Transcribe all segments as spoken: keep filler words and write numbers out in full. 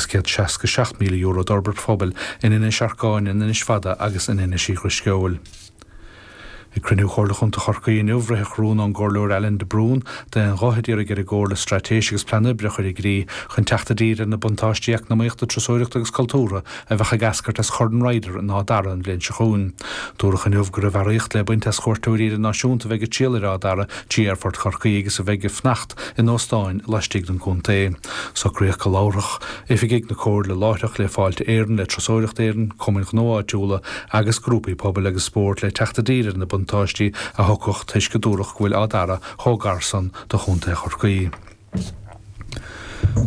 céad seasca seacht míle euro d'fhorbairt phobail in Inis Arcáin, in Inis Fada agus in Inis Uí Dhrisceoil. Ag cruinniú Chomhairle Chontae Chorcaí inniu ritheadh rún ón gComhairleoir Alan de Brún d'aon ghuth a d'iarraidh ar an gComhairle straitéis agus plean oibre a chur i gcrích chun teacht i dtír ar na buntáistí eacnamaíochta, turasóireachta agus cultúrtha a bheadh ag eascairt as Chorn Ryder in Áth Dara an bhliain seo chugainn. Dúradh inniu go raibh earraíocht le baint as chuairteoirí idirnáisiúnta a bheidh ag triall ar Áth Dara trí Aerfort Chorcaí agus a bheidh ag fanacht in óstáin laistigh den gcontae. Socraíodh go labharfadh oifigigh na Comhairle láithreach le Fáilte Éireann, le Turasóireacht Éireann, cumainn ghnó áitiúla agus grúpaí pobail agus spóirt le teacht i dtír ar na buntáistí a thiocfadh toisc go dúradh go bhfuil Áth Dara chomh gar san do Chontae Chorcaí.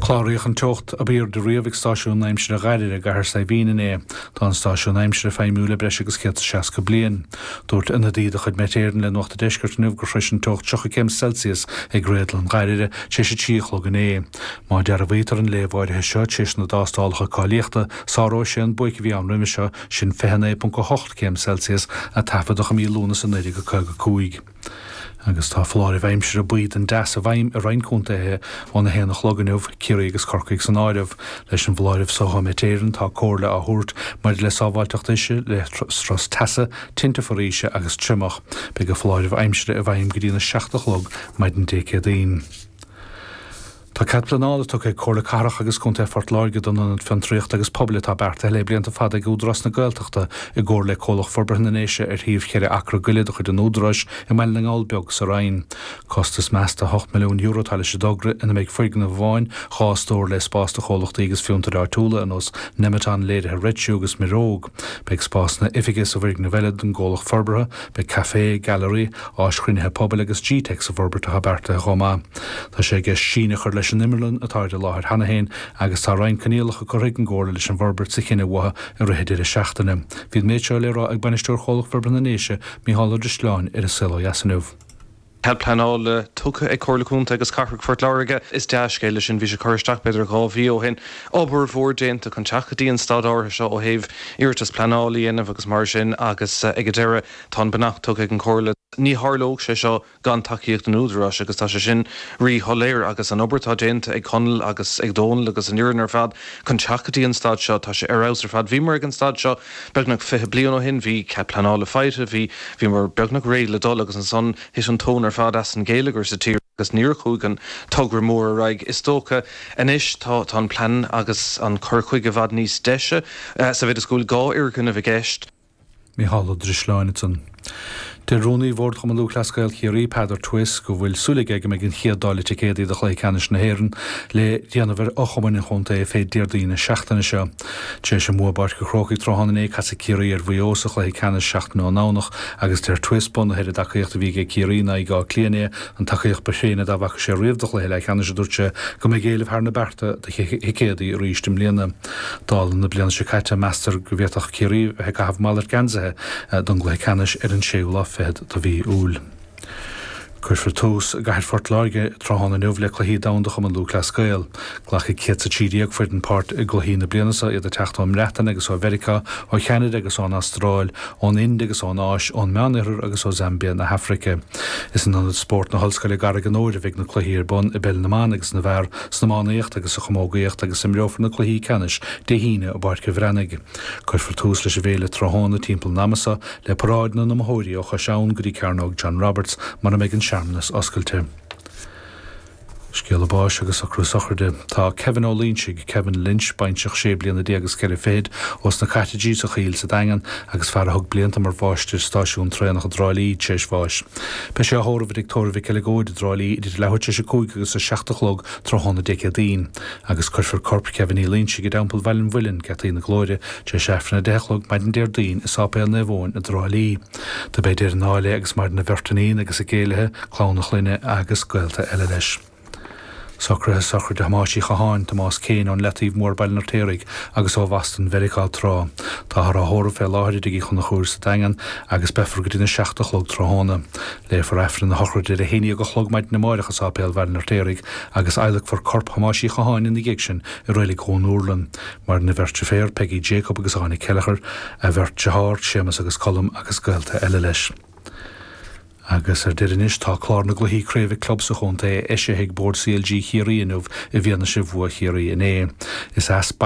Cláraíodh an teocht ab airde riamh ag stáisiún aimsire Ghairire i gCathair Saidhbhín inné. Tá an stáisiún aimsire feidhmiúil le breis agus céad seasca bliain. Dúirt ionadaí de chuid Met Éireann le Nuacht an Deiscirt inniu gur shrois an teocht tríocha céim Celsius ag Réadlann Ghairire tar éis a trí a chlog inné. Má dearbhaítear an léamh áirithe seo tar éis na dtástálacha cáilíochta, sáróidh sé an buaic a bhí ann roimhe seo sin fiche naoi ponc a hocht céim Celsius a taifeadadh i mí Lúnasa naoi déag caoga cúig. Agus tá foláireamh aimsire buí den dteas i bhfeidhm i roinnt contaetha óna haon a chlog inniu, Ciarraí agus Corcaigh san áireamh. Leis an bhfoláireamh seo ó Met Éireann tá comhairle á thabhairt maidir le sábháilteacht uisce, le strus teasa, tinte foraoise agus triomach. Beidh an foláireamh aimsire i bhfeidhm go dtí na seacht a chlog maidin Dé Céadaoin. Tá cead pleanála tugtha ag Comhairle Cathrach agus Contae Phort Láirge don Ionad Fiontraíochta agus Pobail atá beartaithe le blianta fada ag Údarás na Gaeltachta i gcomhar le Comhlacht Forbartha na nDéise ar thaobh cheithre acra go leith de chuid an Údaráis i mBaile na nGall Beag sa Rinn. Costas measta ocht milliún euro atá leis an dtogra ina mbeidh foirgneamh amháin, dhá stór le spás do chomhlachtaí agus fiontair áitiúla ar nós Nemeton, Léirithe Red Shoe agus Miróg. Beidh spásanna oifige sa bhfoirgneamh eile don gcomhlacht forbartha, beidh caifé, gailearaí, áis chruinnithe pobail agus G-Tech sa bhforbairt atá beartaithe chomh maith. Tá sé i gceist síneadh a chur leis an imearlann atá ar an láthair cheana féin agus tá roinnt coinníollacha curtha ag an gComhairle leis an bhforbairt sa chinneadh uathu i rith an deireadh seachtaine. Bhí an méid seo le rá ag bainisteoir Chomhlacht Forbartha na nDéise, Micheál Ó Drisleáin, ar An Saol Ó Dheas inniu. Cead pleanála tugtha ag Comhairle Contae agus Cathrach Phort Láirge is dea-scéal é sin bhí sé curtha isteach b'fhéidir dhá mhí ó shin. Obair mhór déanta chun teacht go dtí an staid áirithe seo ó thaobh iarratas pleanála a dhéanamh agus mar sin agus ag an deireadh tá an beannacht tugtha ag an Chomhairle. Ní tharlódh sé seo gan tacaíocht an Údaráis agus tá sé sin ríshoiléir agus an obair atá déanta ag Conall agus ag Dónal agus an fhoireann ar fad chun teacht go dtí an staid seo tá sé ar fheabhas ar fad. Bhíomar ag an staid seo beagnach fiche bliain ó shin, bhí cead pleanála faighte, bhí bhíomar beagnach réidh le dul agus ansan thit an tóin ar fad as an gheilleagar sa tír agus níor chuaigh an togra mór ar aghaidh. Is dócha anois tá tá an plean agus an cur chuige i bhfad níos deise sa mhéid is go bhfuil dhá fhoirgneamh i gceist. Micheál Ó Drisleáin ansan. Deir Rúnaí Bhord Chumann Lúthchleas Gael Chiarraí Peadar Twiss go bhfuil súil aige go mbeidh an chéad dáileadh ticéadaí do chluiche ceannais na hÉireann le déanamh ar fhochumainn an chontae fé Déardaoin na seachtaine seo. Tar éis an bhua i bPáirc an Chrócaigh tráthnóna inné casfaidh Ciarraí ar Mhaigh Eo sa chluiche ceannais seachtain ón nDomhnach agus deir Twiss bunaithe ar an dtacaíocht a bhí ag Ciarraí in aghaidh Átha Cliath inné an tacaíocht ba thréine dá bhfaca sé riamh do chluiche leathcheannais a dúirt sé go mbeidh éileamh thar na bearta do thicéadaí arís i mbliana. Dála na bliana seo caite meastar go bhféadfadh Ciarraí bheith ag caitheamh malairt geansaithe don gcluiche ceannais ar an séú lá fichead de mhí Iúil. Cuirfear tús i gcathair Phort Láirge tráthnóna inniu le cluichí domhanda Chumann Lúthchleas Gael. Glacfaidh céad is a trí déag foireann páirt i gcluichí na bliana seo iad ag teacht ón mBreatain agus ó Mheiriceá, ó Cheanada agus ón Astráil, ón Ind agus ón Áis, ón Meánoirthear agus ó Zambia na hAfraice. Is in Ionad Spóirt na hOllscoile i gCarraig an Óir a bheidh na cluichí ar bun i bpeil na mban agus na bhfear, san iománaíocht agus sa chamógaíocht agus imreofar na cluichí ceannais Dé hAoine i bPáirc an Bhreathnaigh. Cuirfear tús leis an bhféile tráthnóna timpeall an ama seo le paráid na n-iomaitheoirí ó Chois Abhann go dtí Cearnóg John Roberts mar a mbeidh an searmanas oscailte. Scéala báis agus socrú sochraide. Tá Kevin Ó Loinsigh, Kevin Lynch, baintreach sé bliana déag agus ceithre fichid, ós na Cottages sa Choill sa Daingean agus fear a thug blianta mar mháistir stáisiún traenach i dTrá Lí tar éis bháis. Beidh sé á thórramh i dTigh Tórraimh Mhic Eileagóid i dTrá Lí idir leathuair tar éis a cúig agus a seacht a chlog tráthnóna Dé Céadaoin, agus cuirfear corp Kevin Uí Loinsigh i dTeampall Bhaile an Mhuilinn, Geataí na Glóire, tar éis Aifreann a deich a chlog maidin Déardaoin i Sáipéal Naomh Eoin i dTrá Lí. Do b'é Doireann Áille agus maireann a bheirt iníon agus a gcéilithe, clann a chlainne agus gaolta eile leis. Socruithe sochraide Thomáis Uí Chatháin, Tomás Kane ón Leataobh Mór Baile an Fheirtéaraigh agus ó Bhoston Mheiriceá tráth. Táthar á thórramh fé láthair i dTigh Uí Chonchúir sa Daingean agus beifear go dtí na seacht a chlog tráthnóna. Léifear Aifreann na sochraide ar a haon déag a chlog maidin amárach i Sáipéal Bhaile an Fheirtéaraigh agus adhlacfar corp Thomáis Uí Chatháin ina dhiaidh sin i Reilig Dhún Úrlann. Maireann a bheirt deirféar, Peggy Jacob agus Áine Kelleher, a bheirt dearthár, Séamus agus Colm agus gaolta eile leis. Agus ar deireadh anois, tá clár na gcluichí craoibhe club sa chontae eisithe ag Bord C L G Chiarraí inniu i bhfianaise bhua Chiarraí inné. Is as Baile